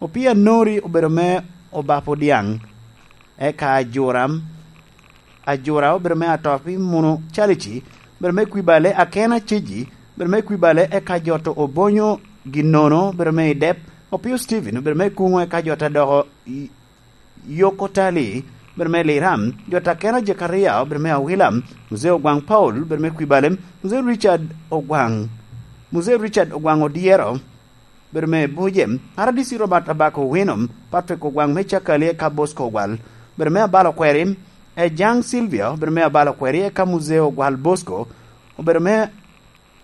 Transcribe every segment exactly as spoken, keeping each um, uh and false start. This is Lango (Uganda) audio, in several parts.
Opii Anori obedo me Obapo Dyaŋ, eka Ajura, Ajura obedo me Atopi Muno Calici, obedo me Kwibale Akena Ciji, obedo me Kwibale, eka Joto Obonyo Ginnono obedo me Idep, Opio Stephen obedo me Kuŋo, eka Joto Adoko Y-, Yoko Tali obedo me Liram, Joto Akena Jekaria obedo me Awila, Muzee Ogwaŋ Paul obedo me Kwibale, Muzee Richard Ogwaŋ, Muzee Richard Ogwaŋ Odyero, bedo me Buje, Aradisi Robert Abako Owino, Patrick Ogwaŋ me Cakali eka Bosco Ogwal, bedo me Abalo Kweri, Ejaŋ Silvia, bedo me Abalo Kweri eka Muzee Ogwal Bosco, obedo me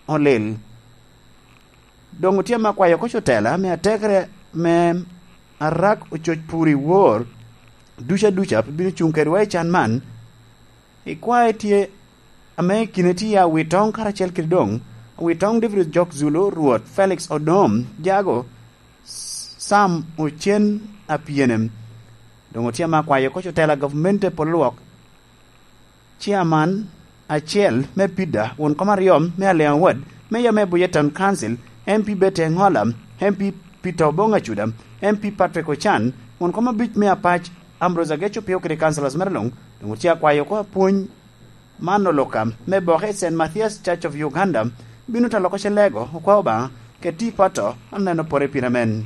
Olil. Doŋ otye ame akwayo oko cotela me atekere me Arak Ococ Puri Wor, duca duca pe bino cuŋ kedwa i can man. Ikwae tye ame i kine tye Awitoŋ karacel kede doŋ Awitoŋ David Ojok Zulu, Rwot Felix Odom Jago, Sam Ocen Apyenem. Doŋ otye ame akwayo oko cotela gavumenti polo lwok, ciaman acel me Pida, won kom aryo me Aleŋ Awad, meya me Buye Town Council, M P Bete Ŋola, M P Peter Oboŋ Acuda, M P Patrick Ocan, won kom abic me Apac, Ambrose Ageco Pio kede councillors mere luŋ, doŋ otye akwayo oko apwony man oloka me boke i Saint Matthias Church of Uganda bino talo oko celego okwa Obaŋa kede tipo ato aneno pore pire men.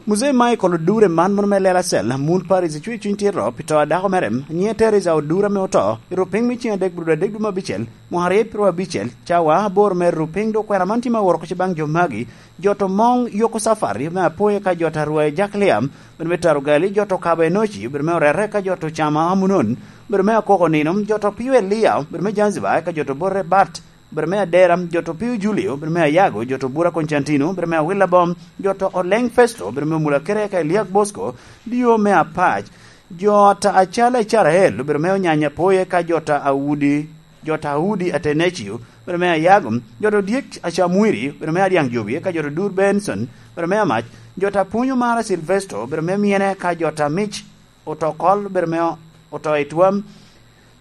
Muzee Michael Odure man mono me Lela Cell, Mul Paris, icwe cuny tito pi to a dako mere, nyiŋe Teresa Odure ame oto i rupiny me ceŋ adek brudo adek dwe me abicel, mwaka aryo pyero abicel, cawa aboro me rupiny dok kwena man tye me woro oko baŋ jo magi, jo to moŋ yoko cafari me apoye ka jo to arwa i Jaklia, bedo me Tarugali, jo to kabo Enoci, bedo me Orere ka jo to cama Amunon, bedo me Akoko Nino, jo to pio Elia, bedo me Zanzibar ka jo to bote Bat, bedo me Adera, jo to pio Julio, bedo me Ayago, jo to bura Konstantino, bedo me Awila Bom, jo to Oleng Festo, bedo me Mula Kere ka Eliak Bosco, dio me Apac, jo ta acalo Icarael, bedo me Onyanya Poye ka jo ta Audi, jo ta Audi Atenecio, bedo me Ayago, jo to Dyek Acamwiri, bedo me Adyaŋ Jobi ka jo to Dur Benson, bedo me Amac, jo ta Punyo Mara Silvesto, bedo me Myene ka jo ta Mic Otokol, bedo me Oto i Twam,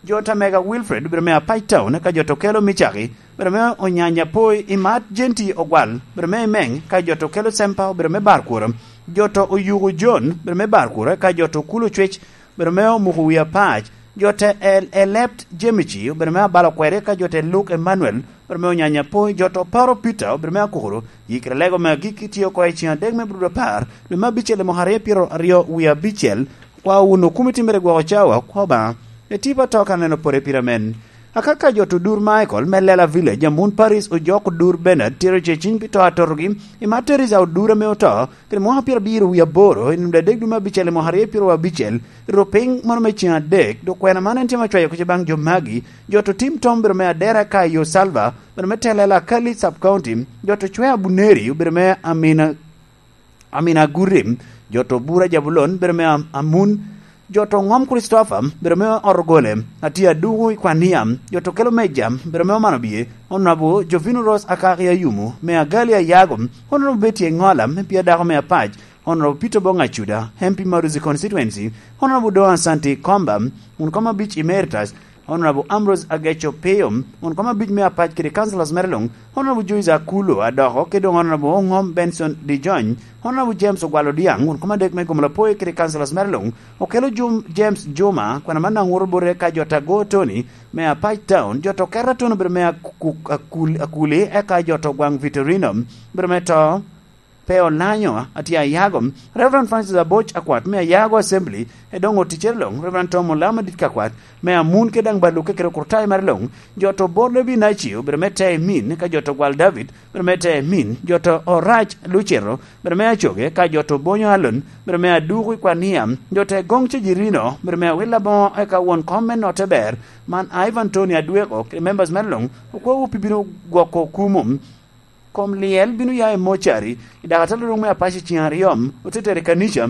jo ta Mega Wilfred, bedo me Apac Town ka jo to kelo Micaki, bedo me Onyanya Poi, Imat Jenti Ogwal, bedo me Imeng ka jo to kelo Sempa, bedo me Barkworo, jo to Oyuko John, bedo me Barkworo ka jo to Kulo Cwec, bedo me Omuko Wi Apac, jo te El-, Elept Jemici, bedo me Abalo Kweri ka jo te Luke Emmanuel, bedo me Onyanya Poi, jo to Paro Peter, bedo me Akukuro, yikre lego me agikki tye oko i ceŋ adek me brudo apar, dwe me abicel i mwaka aryo pyero aryo wie abicel, kwa wun okumiti mere gwoko cawa, kwa Obaŋa, etipa to ka neno pore pire men. Akaka jo to Dur Michael me Lela Village, Amun Paris, Ojok Dur Bernard, tero ce ciny pi to atotogi, i Materis a Odura me oto, kede mwaka pyero abiro wie aboro, i nino adek dwe me abicel i mwaka aryo pyero abicel, i rupiny mono me ceŋ adek, dok kwena man en tye ma cwayo kuca baŋ jo magi, jo to tim tom bedo me Adera ka i Osalva, bedo me Telela Kali Sub County, jo to Cwea Buneri, obedo me Amina Amin Agurim, jo to Bura Jabulon, bedo me Am-, Amun, jo to Ŋom Christopher, bedo me Orogole, Atia Dugu i Kwania, jo to Kelo Meja, bedo me Omano Bie, Honorable Jovino Rose Akaki Ayumu, me Agali Ayago, Honorable Betty Engola, me Pia Dako me Apac, Honorable Peter Bong Acuda, M P Maruzi Constituency, Honorable Doan Santi Komba, wun kom abic Emeritus, Honorable Ambrose Ageco Pio, wun kom abic me Apac kede councillors mere luŋ, Honorable Joyce Akulo Adoko, kede doŋ Honorable Oŋom Benson Dijony, Honorable James Ogwal Odiaŋ, wun kom adek me Gomolo Apoyo kede councillors mere luŋ, Okelo Jum-, James Juma, kwena man daŋ woto bote ka jo ta Go Tony, me Apac Town, jo to Keta Tono bedo me Aku-, Akul-, Akuli, eka jo to Gwaŋ Vitorino, bedo me to, pe olanyo, atye ayago. Reverend Francis Aboc Akwat me Ayago Assembly, e doŋ oticere luŋ, Reverend Tom Olama dit ka Akwat, me Amun kede daŋ Baluke kede Okurtayo mere luŋ, jo to Bor Levi Nacio, bedo me te Emin, ka jo to Gwal David, bedo me te Emin, jo to Orac Lucero, bedo me Acoge, ka jo to Bonyo Alon, bedo me Aduku i Kwania, jo te Goŋ Cejirino, bedo me Awila Boŋo, eka won kom me Notte Ber, man Ivan Tony Adweko, kede members mere luŋ, okwawu pi bino gwoko kumo. Kom lyel bino ya i mocari, i dakatalo luŋ me Apac i ceŋ aryo, ote tero i kanica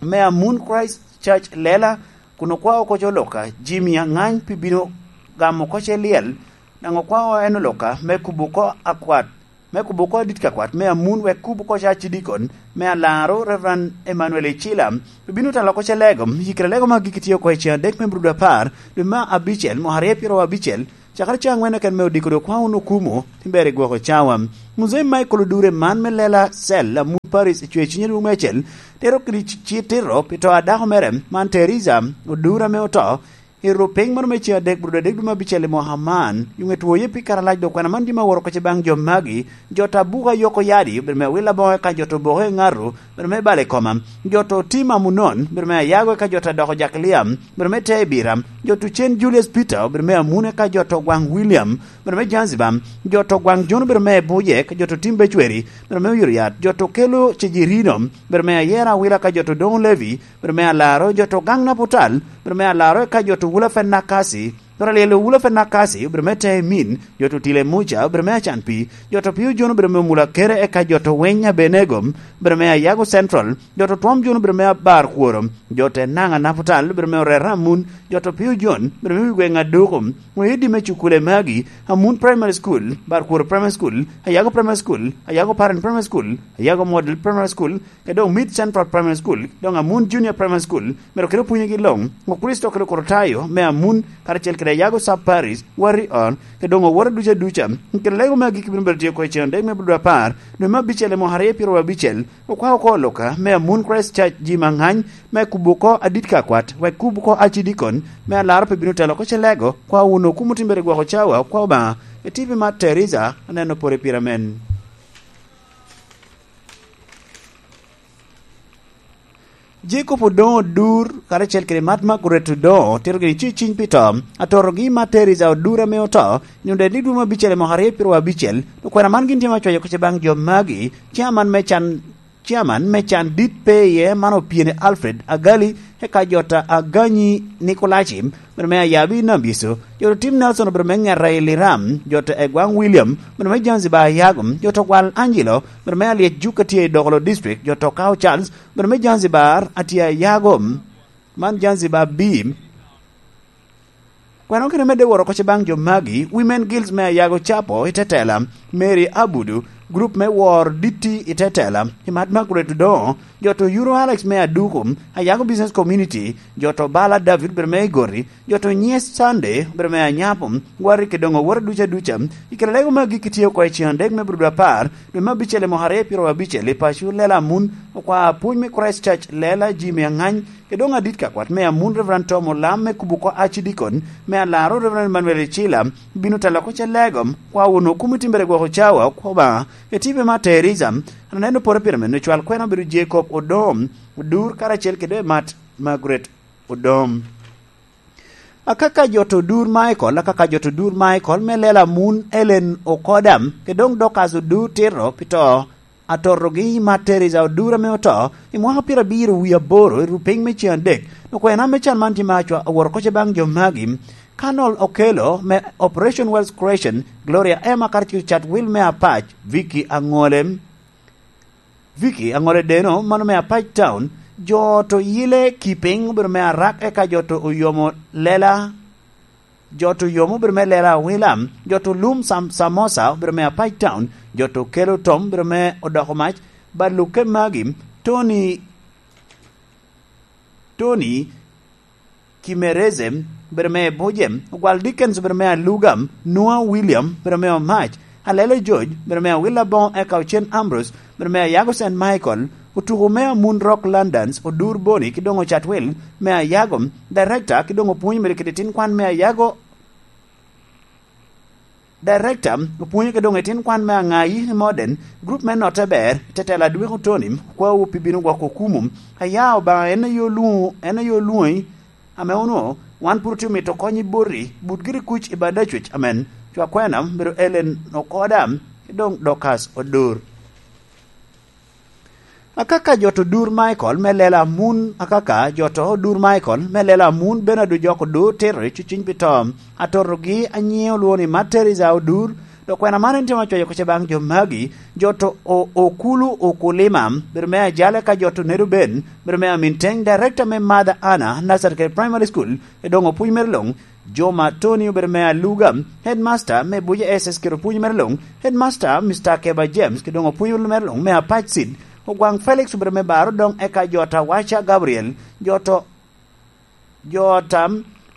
me Amun Christ Church Lela, kun okwao oko co Luka, Jimmy Aŋany pi bino gamo oko ce lyel, daŋ okwao en Luka me kubo oko akwat, me kubo oko adit ka kwat me Amun wek kub oko ca cidikon me alaro Reverend Emmanuel Icila, pi bino talo oko ce lego, yikre lego ma gigi tye oko i ceŋ adek me brudo apar, dwe me abicel, mwaka aryo pyero abicel, Cakere ca aŋwen eken me odiko dok kwaŋ wun okumo, tin ber i gwoko cawa. Muzei Michael Odure man me lela cel Amut Paris i cwe cinye dwong me acel, tero kede ci-, ci tito pi to a dako mere, man Teresa Odure ame oto, i rupiny moro me ceŋ adek, brudo adek dwe me abicel i mwaka man, yuŋe twoye pi karalac dok kwena man jami aworo kece baŋ jo magi, jo ta buka yoko yadi, obedo me awil aboŋo eka jo to boko i ŋato, obedo me balo i koma, jo to tim amunon, obedo me ayago eka jo ta doko jakiliam, obedo me te i bira, jo to cen Julius Peter, obedo me amun eka jo to gwaŋ William, obedo me Zanzibar, jo to gwaŋ John, obedo me buje, eka jo to tim becweri, obedo me oyuro yat, jo to kelo cejirino, obedo me ayera awila eka jo to doŋo Levi, obedo me alaro, jo to gaŋ Naputal, obedo me alaro eka jo to wula Fenakasi, jo to lyelo wula Fenakasi, obedo me te i min, jo to tile Muca, obedo me acan pi, jo to pio John, obedo me omula kere eka jo to weny Abenego, obedo me ayago Central, jo to twom John, obedo me abar kworo, jo to enaŋ Naputal, obedo me orera amun, jo to pio John, obedo me wi gweŋ aduku, oidi me cukule magi, Amun Primary School, Barkworo Primary School, Ayago Primary School, Ayago Parent Primary School, Ayago Model Primary School, ke doŋ Mid Central Primary School, doŋ Amun Junior Primary School, mere kelo pwonyegi loŋ, Okristo kelo Korotayo me Amun, karacel kede Ayago Sub Parish, Warrior, ke doŋ owote duca duca, kede lego me agikki bino bedo tye oko i cen dek me bulu apar, dwe me abicel i mwaka aryo pyero abicel, okwa oko oloka me Amun Christ Church ji maŋany, me kubo oko adit ka kwat, wek kubo oko acidikon, me alaro pe bino telo oko ce lego, kwa wun okumo timbere gwoko cawa, kwa Obaŋa, etipi mar Teresa, aneno pore pira men. Jacob Odoŋo Odur, karacel kede Mat Margaret Odoŋo, otito gini ci ciny pi to, atotogi Mat Teresa Odur ame oto, i nino dwe didwum abicel i mwaka aryo pyero abicel, okwena man gin tye ma cwayo kece baŋ jo magi, ciaman me can, ciaman me can dit pe iye, man Opyeni Alfred Agali, eka jo ta Aganyi Nikolaci, obedo me ayabi i Nambyecu, jo to tim Nelson obedo me ŋeta i Liram, jo to Egwaŋ William, obedo me Zanzibar Ayago, jo to Gwal Angelo, obedo me Alyec Juk a tye i Dokolo District, jo to Kao Charles, obedo me Zanzibar a tye Ayago, man Zanzibar B. Kwena okene medde woro oko ce baŋ jo magi, Women Guilds me Ayago Capo i Tetela, Mary Abudu, grup me Wor Ditti i Tetela, i Mat Margaret Odoŋo, jo to Euro Alex me Aduku, Ayago Business Community, jo to Bala David obedo me Igoti, jo to Nyes Sunday obedo me Anyapo, Gwari ke doŋ owote duca duca, i kare lego me agikki tye oko i cen adek me brudo apar, dwe me abicel i mwaka aryo pyero abicel i paco Lela Amun, okwa pwony me Christ Church Lela Jimmy Angany, ke doŋ adit ka kwat me Amun Reverend Tom Olam me kubo oko acidikon, me alaro Reverend Emmanuel Icila, bino telo oko ce lego, kwa wun okumo timbere gwoko cawa, kwa Obaŋa, etipe ma Teresa, aneno pore pire meno cwal kwena obedo Jacob Odom, Odur karacel kede Mat Margaret Odom. Akaka jo to Odur Michael, akaka jo to Odur Michael, me Lela Amun Ellen Okodam, ke doŋ Dorcas Odur Tito, pi to, atotogi Mat Teresa Odur ame oto, i mwaka pyerabiro wie aboro, i rupiny me cen adek, okwena me can man tye me acwa, aworo koce baŋ jo magi, Colonel Okello, me Operation Wealth Creation, Gloria Emma Karacel Chatwil me Apac, Vicky Aŋole, Vicky Aŋole Deno, mano me Apac Town, jo to Yile Kiping obedo me Arak, eka jo to Oyomo Lela, jo to Oyomo obedo me Lela Awila, jo to Lum Sam-, Samosa obedo me Apac Town, jo to Kelo Tom obedo me Odoko Mac, Baluke Magi, Tony, Tony Kimereze, obedo me Buje, Ogwal Dickens, obedo me Aluga, Noah William, obedo me Omac, Alele George, obedo me Awila Boŋo, eka Ocen Ambrose, obedo me Ayago Saint Michael, otuko me Amun Rock Londons, Odur Boni, ki doŋ Ocatwil, me Ayago, Director, ki doŋ opwonyo mere kede tin kwan me Ayago, Director, opwonyo ke doŋ i tin kwan me Aŋayi Modern, group me Notte Ber, Tetela Dweko Tony, kwawu pi bino gwoko okumu. Aya Obaŋa en aye olwoŋo, en aye olwoŋi, ame onwoŋo wan pwod otye omito kony i boti, but giri kuc i bad acwec amen. Cwa kwena, obedo Ellen Okoda, ki doŋ Dorcas Odur. Akaka jo to Odur Michael me Lela Amun, akaka jo to Odur Michael me Lela Amun, Bernard Ojok Odur, tito i cuciny pi to. Atotogi anyiŋe olwoŋo ni Mat Teresa Odur, dok kwena man en tye ma cwayo koce baŋ jo magi, jo to O-, Okulu Okulima, bedo me Ajale ka jo to Nedo Ben, bedo me Amin Teng, Director me Mother Anna Nursery Primary School, e doŋ opwony mere luŋ, Joma Tony obedo me Aluga, Headmaster me Buja S S kede opwony mere luŋ, Headmaster Mister Keba James, kede doŋ opwony mere luŋ me Apac Seed, Ogwaŋ Felix obedo me Baro doŋ eka jo ta Waca Gabriel, jo to, jo ta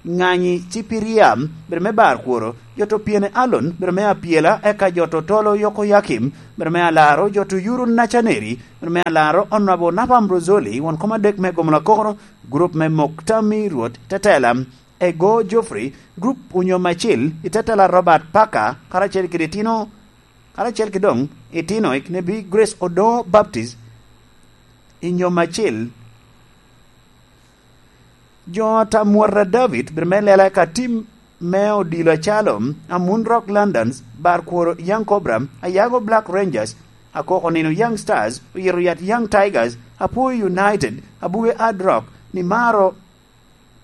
Ŋanyi Cipiria, bere me bar kworo, jo to Piene Alon, bere me Apiela, eka jo to Tolo Yoko Yakim, bere me Alaro, jo to Yuru Nacaneri, bere me Alaro, Honorable Napa Ambrozoli, won kom adek me Gomola Koro, gurup me Moktami Rwot Tetela, Ego Geoffrey, gurup onyo Macil, i Tetela Robert Parker, karacel kede itino, karacel kede doŋ itino, Iknebi Grace Odo Baptist, i nyo Macil, Jo a Tamwata David, bere me lela ka tim me odilo acalo, Amun Rock Londons, bar kworo Young Cobra, Ayago Black Rangers, Akoko Nino Young Stars, Oyito Yat Young Tigers, Apuoyo United, Abuge Hard Rock, Nimaro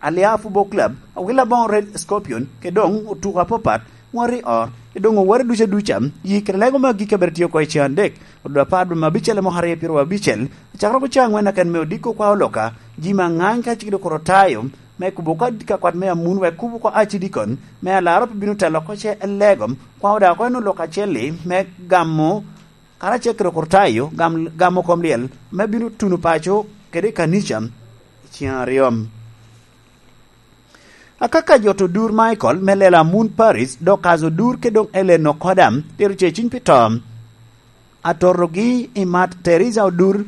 Alia Football Club, Awila Boŋo Red Scorpion, ke doŋ otuko apapat, wari o, ke doŋ owari duca duca, yi kede lego me agikki a bere tye oko i cen adek, odo apar dwe me abicel i mwaka aryo pyero abicel, Acakere oko ca aŋwen aken me odiko kwa oloka, ji me aŋany ka cik dok orotayo, me kubo ka ka kwat me amun wek kubo kwa acidikon, me alaro pe bino telo oko ce elego, kwa oda oko en oloka acel-li, me gamo, karacel kede orotayo, gam, gamo kom lyel, me bino tuno paco kede i kanica, i cen aryo. Akaka jo to dur Michael me lela Moon Paris, dok kazo dur ke doŋ Ellen Okoda, tero ce ciny pi to. Atorogi i mat Teresa Odur,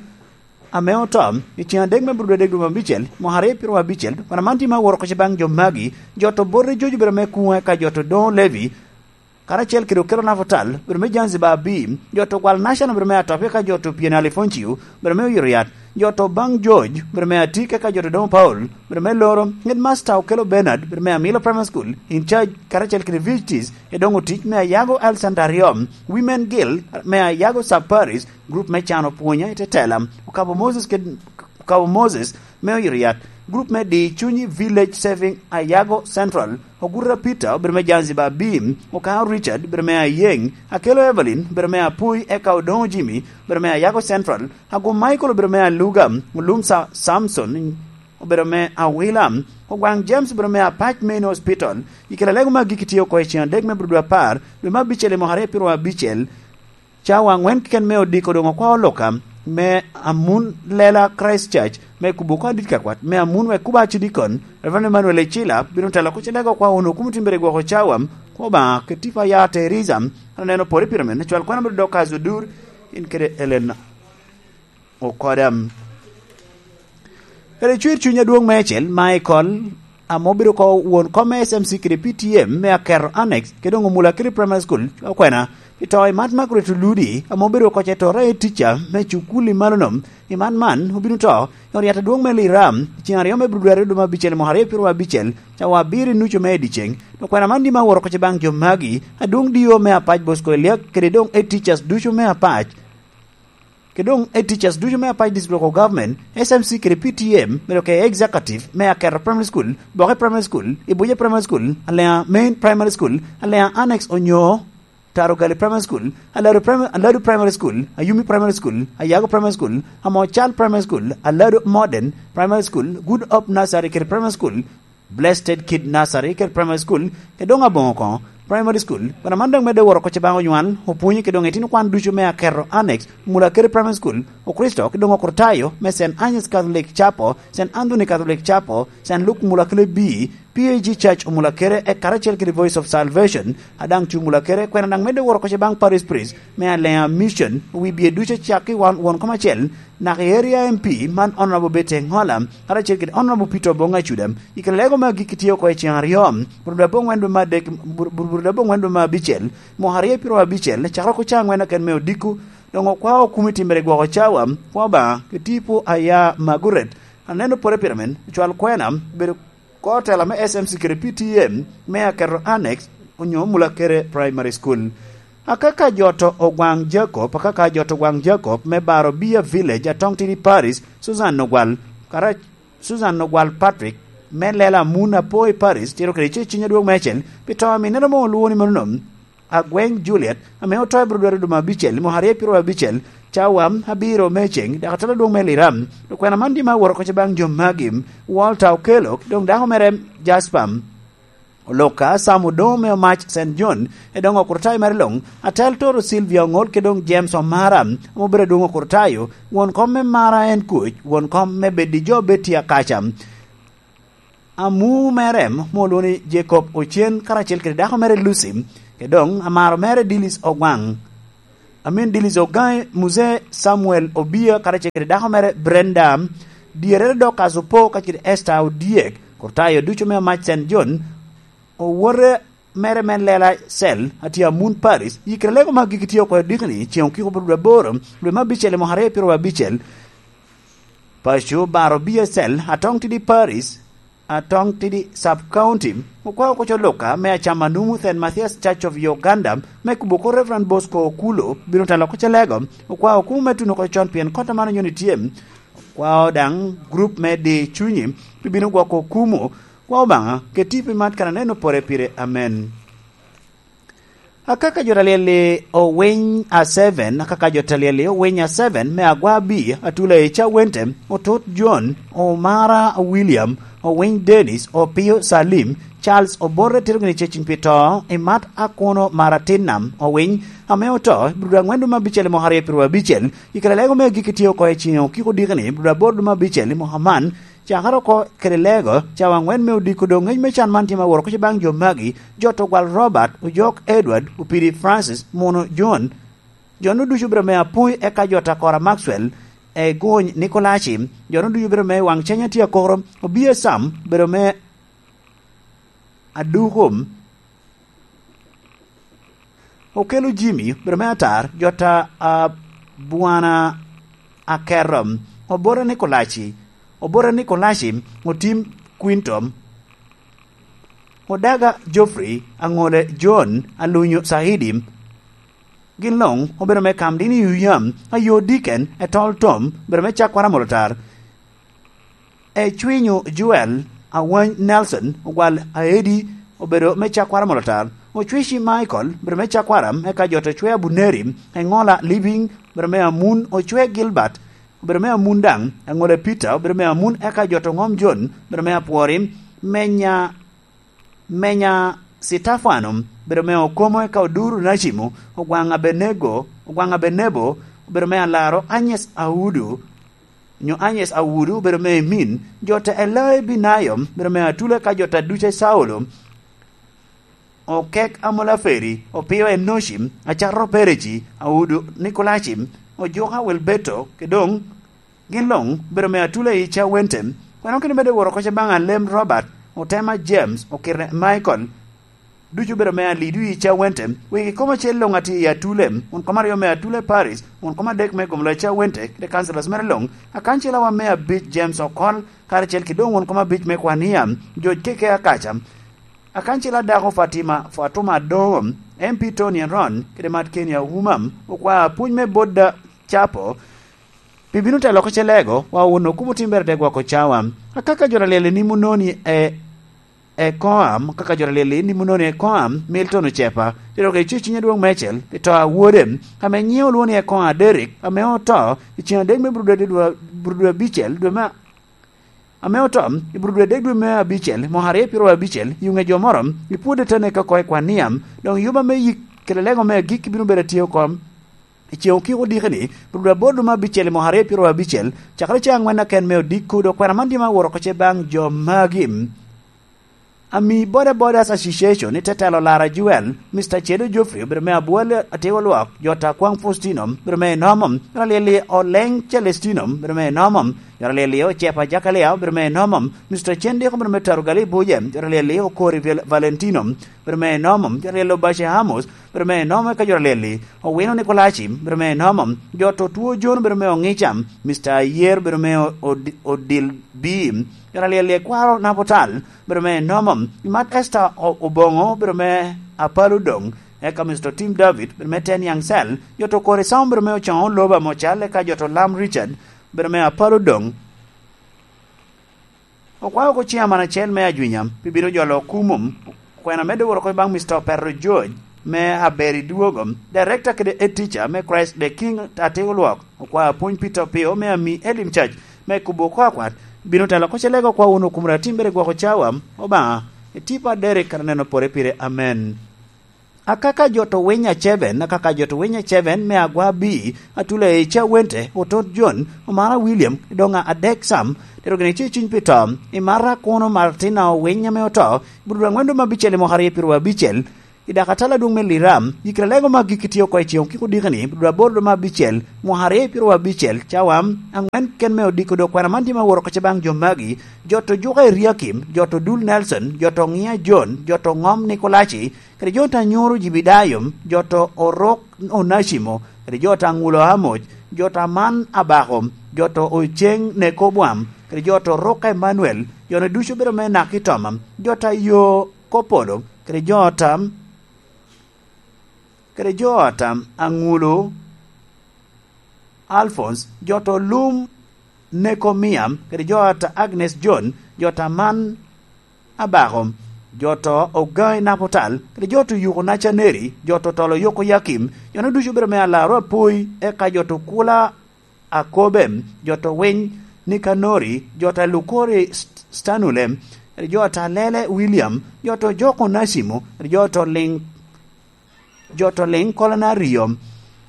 ame oto, i cen adek me bur dwe dek dwe abicel, mwaka aryo pyero abicel, wan aman tim aworo koce baŋ jo magi, jo to bote jojo bedo me kuŋe ka jo to doŋo Levi, karacel kede okelo nafotal, bedo me Zanzibar abi, jo to gwal National bedo me atop, eka jo to Piene Alifonciu, bedo me oyito yat, jo to baŋ George, bedo me atik, eka jo to doŋo Paul, bedo me loro, headmaster okelo Bernard, bedo me Amilo Primary School, in charge, karacel kede visitors, e doŋo tic me Ayago Health Center aryo, Women Guild, me Ayago Sub Parish, group me cano pwonya i tetela, okabo Moses kede, okabo Moses, me oyito yat, group me di cunyi Village Saving Ayago Central, Ogurra Peter, obedo me Zanzibar Beam, Okao Richard, obedo me Ayeng, Akelo Evelyn, obedo me Apui, eka Odongo Jimmy, obedo me Ayago Central, Agum Michael, obedo me Aluga, Olum Sa-, Samson, obedo me Awila, Ogwaŋ James, obedo me Apac Main Hospital, i kela lego me agikki tye oko i cen adek me bur dwe apar, dwe me abicel i mwaka aryo pyero abicel, Cawa aŋwen keken me odiko doŋ okwao Luka, me Amun Lela Christ Church, me kubo oko adit ka kwat, me Amun wek kubo acidikon, Reverend Emmanuel Ecila, bino telo kuc i lego kwa wunu kumo timbere gwoko cawa, kwa Obaŋa, kede tipo a ya Teresa, an aneno pore pire men, cwal kwana bino dok kazi odur, in kede Ellen Okoda. Kede cwir cuny adwoŋ meicel, Michael, ame obedo oko won kom me S M C kede P T M me Aketo Annex, kede doŋ Omula Kiri Primary School, okwena, pi to i Mat Margaret Oludi, ame obedo oko ce to raye tica me cukul i malo nom, i man man, obino to, i ot yat adwoŋ me Lira, i cen aryo me Bibluari dwe me abicel i mwaka aryo pyero abicel, cawa abiro i nucu me i dyeceŋ. Okwena man dima aworo oko ce baŋ jo magi, adwoŋ dio me Apac Bosco Eliak, kede doŋ e teachers ducu me Apac. Ke doŋ e teachers ducu me Apac District Local Government, S M C kede P T M, medo ke executive me Aketo Primary School, Boke Primary School, Ibuja Primary School, Alea Main Primary School, Alea Annex onyo Tarogali Primary School, Aladu Primary, Aladu Primary School, Ayumi Primary School, Ayago Primary School, Amocal Primary School, Aladu Modern Primary School, Good Hope Nursery kede Primary School, Blessed Kid Nursery kede Primary School, kede doŋ Aboŋo koŋo Primary School. Kono man doŋ medde woro oko ce baŋ onywal, opwonye kede doŋ itino kwan ducu me Aketo Annex, Mulakere Primary School, Okristo, kede doŋ Okritayo me Saint Agnes Catholic Chapel, Saint Anthony Catholic Chapel, Saint Luke Mulakere B, P A G Church Omulakere, e karacel kede Voice of Salvation, a daŋ cu Mulakere, kwena daŋ medde woro oko ce baŋ Parish Priest me Alea Mission, wi bie ducu acakki wan won kom acel, Naka i Area M P man Honorable Betty Engola, karacel kede Honorable Peter Obong Acuda, i kare lego me agikki tye oko i cen aryo, burubura aboŋwen dwe me adek, bur-, burubura aboŋwen dwe me abicel, mwaka aryo pyero abicel, cakere oko ca aŋwen aken me odiko, doŋ okwao okumi timbere gwoko cawa, kwa Obaŋa, ki tipo a ya Maguret, aneno pore pire men, ocwal kwena, bedo Kor tela me S M C kede P T M me Aketo Annex onyo Mulakere Primary School. Akaka jo to Ogwaŋ Jacob, akaka jo to Ogwaŋ Jacob me Baro Bia Village, Atong Tidi Parish, Susan Ogwal, kara-, Susan Ogwal Patrick, me Lela Muna Poi Parish, tiro kede ce ciny adwoŋ meicel, pi to a minnere mo olwoŋo ni mano nom. Agweng Juliet, ame oto i Brodwari dwe me abicel, mwaka aryo pyero abicel, cawa abiro me ceŋ, dok atela adwoŋ me Liram. Okwena man dima aworo oko ce baŋ jo magi, Walter Okello, ki doŋ dako mere Jasper. Oloka, Sam Odoŋo me Omac Saint John, e doŋ okurtai mere luŋ, atel toro Sylvia Oŋol, ki doŋ James Omara, ame obedo adwoŋ okurtayo, won kom me Mara en Kuc, won kom me Bedi Jo Betty Akaca. Amu mere mo olwoŋo ni Jacob Ocen karacel kede dako mere Lucy, kede doŋ amaro mere Dilis Ogwaŋ. Amin Dilis Ogaŋ, Muse Samuel Obia karacel kede dako mere Brenda, dyerere Dorcas Opo kacel kede Esther Odyek, Kurtayo ducu me Amac Saint John, owote mere me Lela Cell, atye Amun Paris, yikere lego me agikki tye oko i odikni, ceŋ okiko bot dwe aboro, dwe me abicel i mwaka aryo pyeraryo abicel. Paco Baro B S L, Atong Tidi Paris, Atong Tidi Sub County, okwao oko co Luka me acama numu Saint Mathias Church of Uganda, me kubo oko Reverend Bosco Okulo, bino telo oko ce lego, okwao okumu me tuno oko con pien kota mano nyoni tye, okwao daŋ group me di cunyi, pi bino gwoko okumu, kwa Obaŋa, keti pi mat kan aneno pore pire. Amen. Akaka jo ta lyel-li owiny a seven, akaka jo ta lyel-li owiny a seven, me agwa abi, atula i ca wente, otut John, Omara William, owiny Dennis, Opio Salim, Charles Oborre tito gini cecin pi to, i mat akuno mara tin nam, owiny, ame oto, i brudo angwen dwe me abicel i mwaka aryo pyeraryo abicel, i kare lego me agikki tye oko i ciŋ okiko dikini, i brudo aboro dwe me abicel i mwaka man, cakere oko kede lego, cawa angwen me odiko doŋ ŋec me can man tye ma woro kuc baŋ jo magi, jo to gwal Robert, Ojok Edward, Opidi Francis, Muno John, jo-nu ducu obedo me Apui, eka jo ta Kora Maxwell, Eguny Nikolaci, jo-nu ducu obedo me Waŋ Cenya tye akoro, Obia Sam, obedo me Aduko, Okelo Jimmy, obedo me Atar, jo ta Abwana Akerro, Obora Nikolaci, Obora Nikolaci, Otim Quinto, Odaga Geoffrey, Aŋole John, Alunyo Saidi, gin luŋ obedo me Kamdini Yuyam, Ayo Diken, Etol Tom, obedo me Cakwara Molotar, Ecwinyo Joel, Awany Nelson, Ogwal Aedi, obedo me Cakwara Molotar, Ocwici Michael, obedo me Cakwara, eka jo to Cwe Abuneri, Eŋola Living, obedo me Amun, Ocwe Gilbert, obedo me Amun daŋ, Eŋola Peter, obedo me Amun, eka jo to Ŋom John, obedo me Apwori, Menya, Menya Sitafano, obedo me Okomo, eka Oduru Nacimo, Ogwaŋ Abenego, Ogwaŋ Abenebo, obedo me Alaro, Agnes Audu, nyo Agnes Awudu, obedo me Emin, jo te Elai Binayo, obedo me Atula, ka jo te Duce Saulo, Okek Amolaferi, Opio Enoci, Acato Pereci, Awudu Nikolaci, Ojuka Wilbeto, ke doŋ gin luŋ obedo me Atula i Cawente. Kweno kene bede woro koca baŋ Alem Robert, Otema James, Okirne Michael, ducu obedo me Alidu i Cawente. Wegi kom acel luŋ atye i Atule, won kom aryo me Atule Paris, won kom adek me Gomlo i Cawente, kede councillors mere luŋ, akancelawa me abic James Okol, karacel ki doŋ won kom abic me Kwania, George Keke Akaca, akancela dako Fatima Fatuma Adoŋo, M P Tony Aron, kede Mat Keni Auma, okwa apuny me Bodda Capo, pi bino telo oko ce lego, wa wun okumo timbere te gwoko cawa. Akaka jo ta lyel i nimo noni e, e koam, kaka jo ta lyel i nimo noni e koam, Milton Ocepa, tero ke icu cinye dwong mecel, i to a wode, ame nyiŋe olwoŋo ni e koam Derek, ame oto, i cen adek me Burudwe, Burudwe abicel, dwe me, ame oto, i Burudwe adek dwe me abicel, mwaka aryo pyeraryo abicel, i ŋe jo moro, i pwode te neke oko i kwan niam, doŋ yuba me yik, kede lego me agikki bino bedo atye oko, I ceŋ okiko diki-ni, Burudwe aboro dwe me abicel i mwaka aryo pyeraryo abicel, cakere ceŋ aŋwen aken me odiko, dok kwena man tye ma woro oko ce baŋ jo magi. Ami Boda Bodas Association i te telo Lara Joel, Mister Cedo Geoffrey obedo me Abwal Atego Lwok, jo ta Kwaŋ Faustino obedo me enomo, jo ta lyel-li Oleng Celestino obedo me enomo, jo ta lyel-li Ocepa Jakalia obedo me enomo, Mister Cendiko obedo me Tarugali Buje, jo ta lyel-li Okori Val-, Valentino, obedo me enomo, jo ta lyel-li Obace Amos, obedo me enomo eka jo ta lyel-li, Owino Nikolaci, obedo me enomo, jo to two John obedo me Oŋica, Mister Ayer obedo me O-, Odi-, Odil B, jo ta lyel-li Ekwaro Napotal, obedo me enomo, Imat Esther O-, Oboŋo obedo me Apalo Doŋ, eka Mister Tim David obedo me Ten Young Cell, jo to Kori Sam obedo me Ocoŋo Loba Mocal, eka jo to Lam Richard obedo me Apalo Doŋ. Okwao oko ciaman acel me Ajwinya pi bino jolo okumo. Kwena medde woro oko baŋ Mister Opero George me Aberi Dwogo, Director kede Head Teacher me Christ the King Atego Lwok. Okwao apwony Peter Opio me Ami Elim Church me kubo oko akwat. Bino telo oko ce lego kwa wun okumra timbere gwoko cawa. Obaŋa, itipa Derek kan aneno pore pire. Amen. Akaka jo to winy a Ceven, akaka jo to winy a Ceven me agwa bi, atula i ca wente, otot Jon, Omara William, doŋ a adek Sam, tero gini ci ciny pi to, i Mara kuno Martina owiny ame oto, i Budo aŋwen duma abicel i mwaka aryo piro abicel, i Dakatala dwoŋ me Liram, i kare lego ma gik itio oko i ceŋ kiko dikini, Budo aboro duma abicel, mwaka aryo piro abicel, cawa aŋwen ken me odiko dok kwena man tye ma woro kece baŋ jo magi, jo to Juka Eriakim, jo to Dul Nelson, jo to Ŋia Jon, jo to Ŋom Nikolaci, kede jo ta nyoro Jibidayo, jo to Orok Onacimo, kede jo ta ŋulo Amoc, jo ta man Abako, jo to Oceng Nekobwam, kede jo to Ruka Emanuel, jo ne ducu bedo me nak i toma, jo ta yo Kopolo, kede jo ta, kede jo ta aŋulo Alphonse, jo to lum Nekomia, kede jo ta Agnes John, jo ta man Abako, jo to Ogai Napotal, kede jo to Yuko Nacaneri, jo to Tolo Yoko Yakim, jo no ducu obedo me alaro apoi, eka jo to Kula Akobe, jo to Winy Nikanori, jo ta Lukori St-, Stanule, kede jo ta Lele William, jo to Joko Nasimo, kede jo to Ling-, jo to Ling Kolona Rio,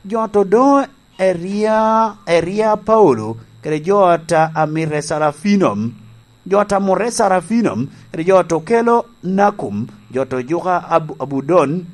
jo to do Eria, Eria Paulo, kede jo ta Amire Sarafino, jo ta Mure Sarafino, kede jo to Kelo Nakum, jo to Juka Abu-, Abudon,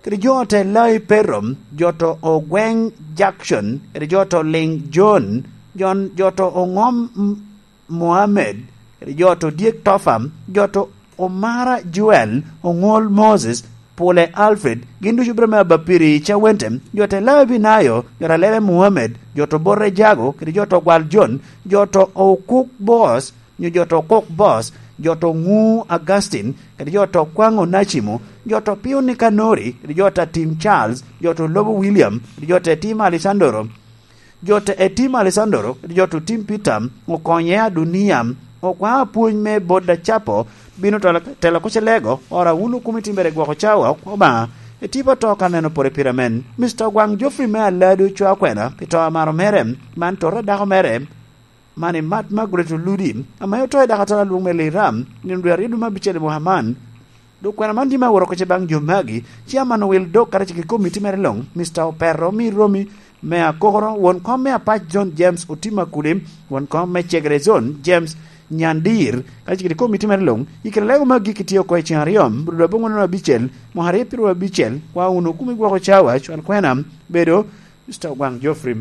kede jo te Lai Perro, jo to Ogweng Jackson, kede jo to Ling John, John, jo to Ongom M-, Mohammed, kede jo to Dyek Tofa, jo to Omara Joel, Oŋol Moses, Pule Alfred, gin ducu bino me abapiri i Cawente, jo te Lai Binayo, jo ta Lele Mohammed, jo to Bote Jago, kede jo to Gwal John, jo to Okuk Boss, nyo jo to Kok Boss, jo to Ŋu Augustine, kede jo to Kwaŋ Onacimo, jo to Piyo Nikanori, kede jo ta Tim Charles, jo to Lobo William, kede jo ta Etim Alessandro, jo ta Etim Alessandro, kede jo to Tim Peter, Okonye Adunia, Okwaŋ Apwony me Bot Acapo, bino telo, telo kuc i lego, ora wun okumi timbere gwoko cawa, Obaŋa, etipo to ka neno pore pire men. Mister Ogwaŋ Geoffrey me Alado cwa kwena, pi to amaro mere, man tota dako mere, man i Mat Margaret Oludi, ame oto i Dakatala lwong me Liram, nino dwe aryo dwe me abicel i mwaka man. Dok kwena man tye me aworo kece baŋ jo magi, Chairman Owil Dok kacel kede komiti mere luŋ, Mister Opero Miromi me Akokoro, won kom me Apac Zone James Otim Akuli, won kom me Cegere Zone James Nyandir, kacel kede komiti mere luŋ, i kare lego magi kitye oko i ceŋ aryo, Budo dwe aboŋwen abicel, mwaka aryo piro abicel, kwa wunu kumi gwoko cawa, cwal kwena, bedo, Mister Ogwaŋ Geoffrey.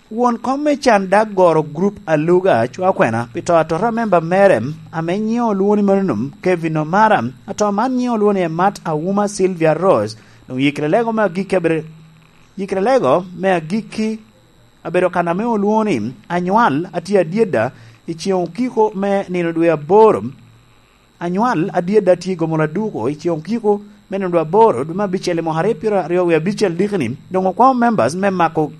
Won kom me can dak goro grup aluga cwa kwena pi to atota memba mere ame nyiŋe olwoŋo ni Manunom Kevin Omara, ato man nyiŋe olwoŋo ni Emat Awuma Sylvia Rose, doŋ yikre lego me agikki abedo, yikre lego me agikki abedo kan ame olwoŋo ni Anywal atye adyeda i ceŋ okiko me nino dwe aboro. Anywal adyeda tye i gomo laduko i ceŋ okiko me nino dwe aboro dwe me abicel i mwaka aryo piro aryo wie abicel dikini, doŋ okwaŋo members me mako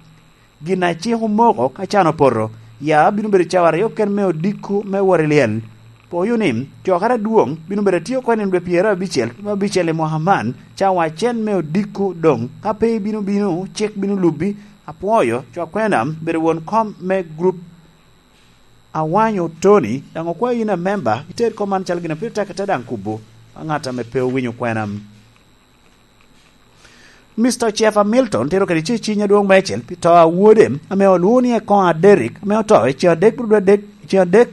gin a cik omoko ka can opoto. Ya bino bedo cawa aryo ken me odiko me wot i lyel. Poyo ni, cokere adwoŋ bino bedo atye oko i nino dwe pyeraryo abicel dwe me abicel i mwaka man, cawa acel me odiko doŋ. Ka pe ibino bino, cik bino lubi. Apwoyo, cwa kwena, bedo won kom me grup Awanyo Tony, daŋ okwayo yin amemba, iter kom man calo gin a pire tek ite daŋ kubo, a ŋat ame pe owinyo kwena. Mister Jeff Hamilton tero kede ceciny adwoŋ meicel pi to a wode, ame olwoŋo ni Ekoŋ Aderic, ame oto i ceŋ adek bro dwe adek, i ceŋ adek